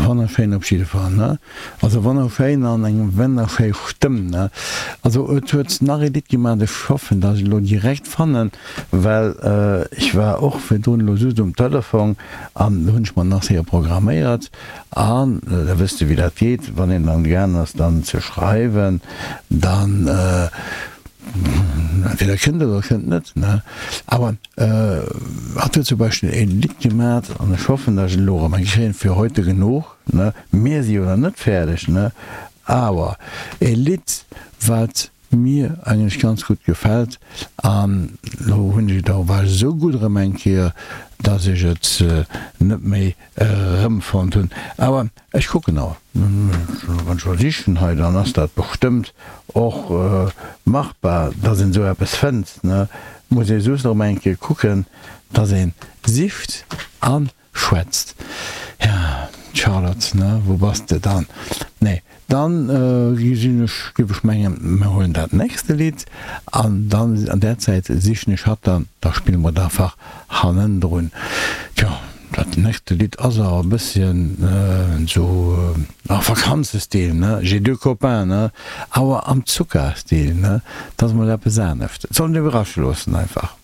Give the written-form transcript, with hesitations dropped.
Wonnerschéin op jidde Fall, ne? Also wonnerschéin an eng wonnerschéi Stëmm, ne? Also et huet nach ee Lidd gemaach, ech hoffen dass ech elo direkt fannen, well ech war och virdrun elo just um Telefong an do hunn ech mer nach séier programméiert an da wësst de wéi dat geet, wann een dann gaang ass dann ze schreiwen, dann entweder kënnt et oder kënnt net, ne? Awer hatt huet zum Beispill ee Lidd gemat an ech hoffen dass ech et elo erëm eng kréien, Für heute genug, ne? Mir si jo nach net fäerdeg, ne? Awer ee Lidd wat mir eigentlech ganz gutt gefält an elo hunn ech et och, war ech esou gutt erëm eng Kéier, dass ech et net méi erëmfonnt hunn. Awer ech kucken awer, wann ech mol sichen hei, dann ass dat bestëmmt och machbar, dass een esou eppes fënnt, ne? Muss ee just erëm eng Kéier kucken, dass ee sicht an Schwätzt. Ja, Charlotte, ne, wou bass de dann? Nee, dann gesinn ech, géif ech mengen, mir huelen dat nächste Lidd an dann an där Zäit sichen ech hatt dann, da spille mer et einfach hannendrun. Tjo, dat nächste Lidd ass awer e bësschen esou a Vakanzestil, ne, J'ai deux copains, ne, awer am Zuckerstil, ne, dat ass mol eppes anescht. Et soll een iwwerrasche loossen einfach.